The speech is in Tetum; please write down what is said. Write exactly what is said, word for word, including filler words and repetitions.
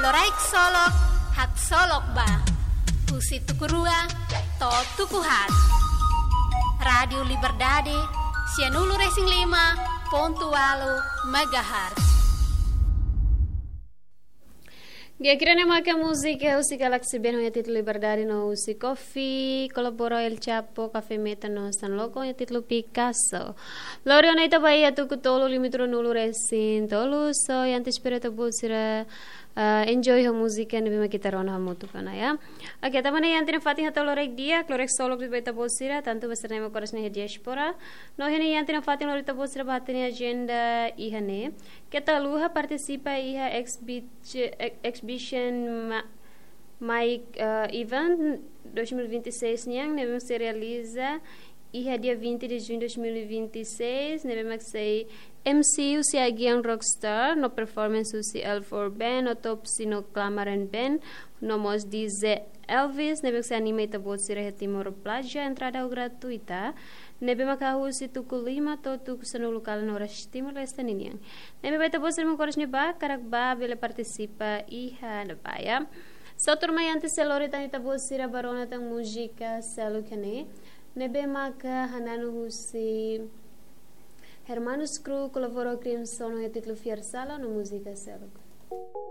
Loraik solok, haksolok ba. Husi tuku rua to'o tuku haat. Rádiu Liberdade, sianulu-resin-lima pontu ualu megahertz. Di'ak, ida-ne'e maka múzika husi Galaxy Band ho nia títulu Liberdade no husi Kofi kolabora El Chapo, Café Meta no San Loco ho nia títulu Picasso. Lori ona ita ba iha tuku tolu, limite ruanulu-resin-tolu, so, i antes espera ita-boot sira, ah, enjoy ho múzika ne'ebé mak ita rona hamutuk ona, ya. Oke, tanba ne'e iha ita-nia fatin hato'o loraik di'ak, loraik solok ba ita-boot sira, tantu ba sira ne'ebé mak moras iha diáspora. No iha ita-nia fatin lori ita-boot sira ba hatene agenda iha ne'e. Keta haluha partisipa iha exhibit-, ex-, exhibition ma-, Mike, eh, Event dois mil e vinte e seis nian, ne'ebé mak sei realiza iha dia vinte de junho de dois mil e vinte e seis, ne'ebé mak sei M C husi Agian Rockstar, no performance husi L four Band, Autopsy no Clamaran Band, no mós D J Elvis, ne'ebé mak sei anima ita-boot sira iha Timor Plaza, entrada gratuita, ne'ebé mak husi tuku lima to'o tuku sanulu kalan oras Timor-Leste ninian. Ne'ebé ba ita-boot sira mak moras iha ne'ebá, karik bá bele partisipa iha ne'ebá, ya. So, tuirmai, antes sei lori tan ita-boot sira ba rona tan múzika seluk ne'e, ne'ebé maka hananu husi Hermanos Crew kolabora ho Crimson ho títulu Fiar Sala no múzika seluk.